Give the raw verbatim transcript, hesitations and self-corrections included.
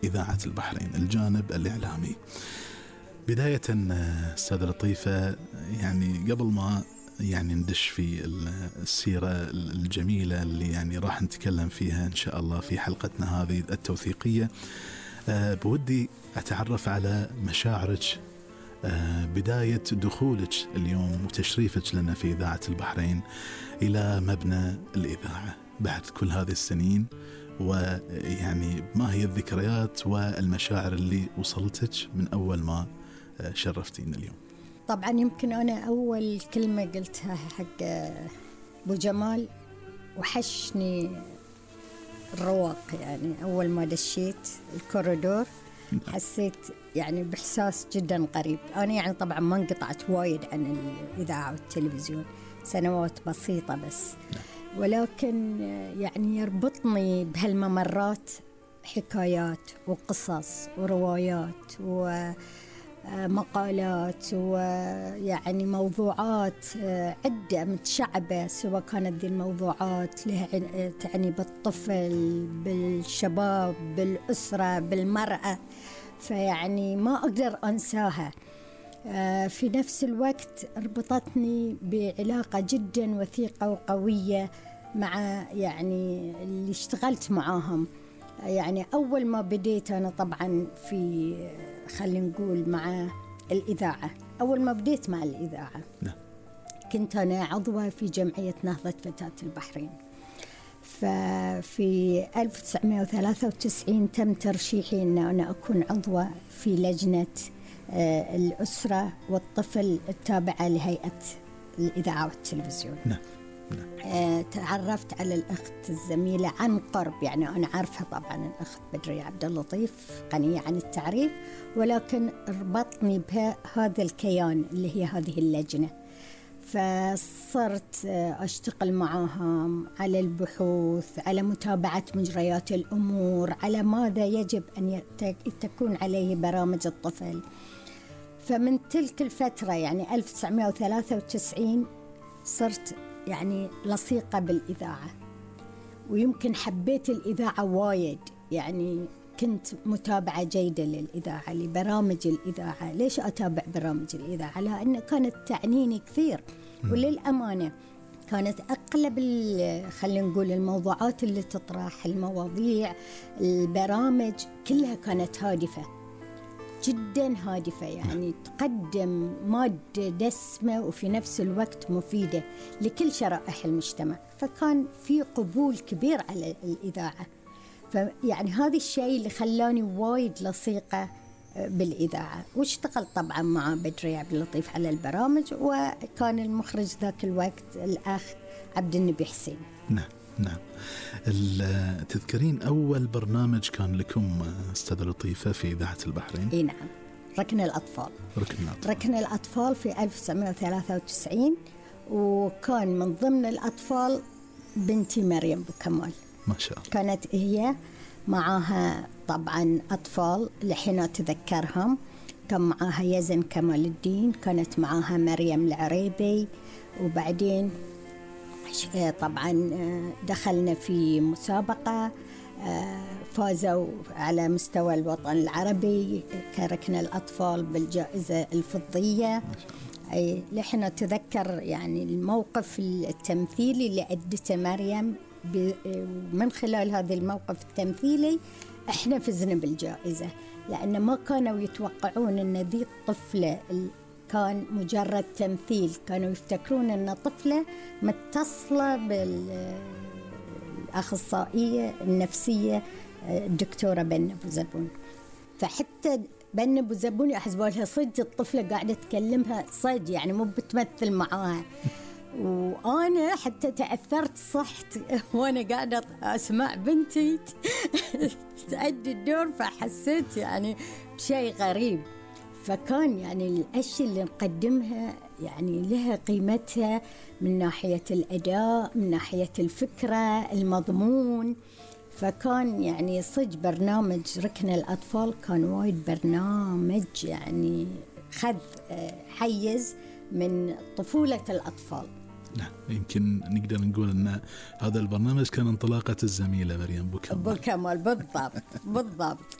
إذاعة البحرين، الجانب الإعلامي. بداية أستاذة لطيفة، يعني قبل ما يعني ندش في السيرة الجميلة اللي يعني راح نتكلم فيها إن شاء الله في حلقتنا هذه التوثيقية، أه بودي أتعرف على مشاعرك أه بداية دخولك اليوم وتشريفك لنا في إذاعة البحرين إلى مبنى الإذاعة بعد كل هذه السنين، ويعني ما هي الذكريات والمشاعر اللي وصلتك من أول ما شرفتينا اليوم؟ طبعا يمكن أنا أول كلمة قلتها حق أبو جمال، وحشني الرواق. يعني أول ما دشيت الكوريدور حسيت يعني بإحساس جدا قريب. أنا يعني طبعا ما انقطعت وايد عن الإذاعة والتلفزيون، سنوات بسيطة بس، ولكن يعني يربطني بهالممرات حكايات وقصص وروايات ومقالات ويعني موضوعات عدة متشعبة، سواء كانت ذي الموضوعات لها تعني بالطفل، بالشباب، بالأسرة، بالمرأة، فيعني ما أقدر أنساها. في نفس الوقت ربطتني بعلاقة جدا وثيقة وقوية مع يعني اللي اشتغلت معاهم. يعني أول ما بديت أنا طبعا في خلينا نقول مع الإذاعة، أول ما بديت مع الإذاعة لا. كنت أنا عضوة في جمعية نهضة فتاة البحرين. ففي ألف وتسعمائة وثلاثة وتسعين تم ترشيحي أن أنا أكون عضوة في لجنة الأسرة والطفل التابعة لهيئة الإذاعة والتلفزيون. نعم. نعم. تعرفت على الأخت الزميلة عن قرب، يعني أنا عارفها طبعا الأخت بدرية عبد اللطيف غنية عن التعريف، ولكن ربطني بهذا الكيان اللي هي هذه اللجنة. فصرت أشتغل معهم على البحوث، على متابعة مجريات الأمور، على ماذا يجب أن تكون عليه برامج الطفل. فمن تلك الفترة يعني ألف وتسعمائة وثلاثة وتسعين صرت يعني لصيقة بالإذاعة، ويمكن حبيت الإذاعة وايد. يعني كنت متابعة جيدة للإذاعة، لبرامج الإذاعة. ليش أتابع برامج الإذاعة؟ لأن كانت تعنيني كثير، وللأمانة كانت أغلب خلينا نقول الموضوعات اللي تطرح، المواضيع، البرامج كلها كانت هادفة جدا، هادفة، يعني تقدم مادة دسمة وفي نفس الوقت مفيدة لكل شرائح المجتمع. فكان في قبول كبير على الإذاعة. فيعني هذا الشيء اللي خلاني وايد لصيقة بالإذاعة. واشتغلت طبعا مع بدرية عبد اللطيف على البرامج، وكان المخرج ذاك الوقت الأخ عبد النبي حسين. نعم نعم. تذكرين أول برنامج كان لكم أستاذة لطيفة في إذاعة البحرين؟ إيه نعم، ركن الأطفال. ركن الأطفال, ركن الأطفال في ألف وتسعمائة وثلاثة وتسعين، وكان من ضمن الأطفال بنتي مريم بوكمال. ما شاء الله. كانت هي معها طبعا أطفال لحين أتذكرهم، كان معها يزن كمال الدين، كانت معها مريم العريبي، وبعدين طبعا دخلنا في مسابقة، فازوا على مستوى الوطن العربي كركن الأطفال بالجائزة الفضية. أي لحين أتذكر يعني الموقف التمثيلي اللي أدته مريم، من خلال هذا الموقف التمثيلي احنا فزنا بالجائزة، لأن ما كانوا يتوقعون أن ذي الطفلة كان مجرد تمثيل، كانوا يفتكرون أن طفلة متصلة بالأخصائية النفسية الدكتورة بن أبو زبون. فحتى بن أبو زبون يحسبوا صدق الطفلة قاعدة تكلمها صدق، يعني مو بتمثل معاها. وأنا حتى تأثرت صحت وأنا قاعدة أسمع بنتي تأدي الدور، فحسيت يعني بشيء غريب. فكان يعني الأشياء اللي نقدمها يعني لها قيمتها من ناحية الأداء، من ناحية الفكرة، المضمون. فكان يعني صج برنامج ركن الأطفال كان وايد برنامج يعني خذ حيز من طفولة الأطفال. نعم، يمكن نقدر نقول أن هذا البرنامج كان انطلاقة الزميلة مريم بوكمال. بوكمال بالضبط بالضبط.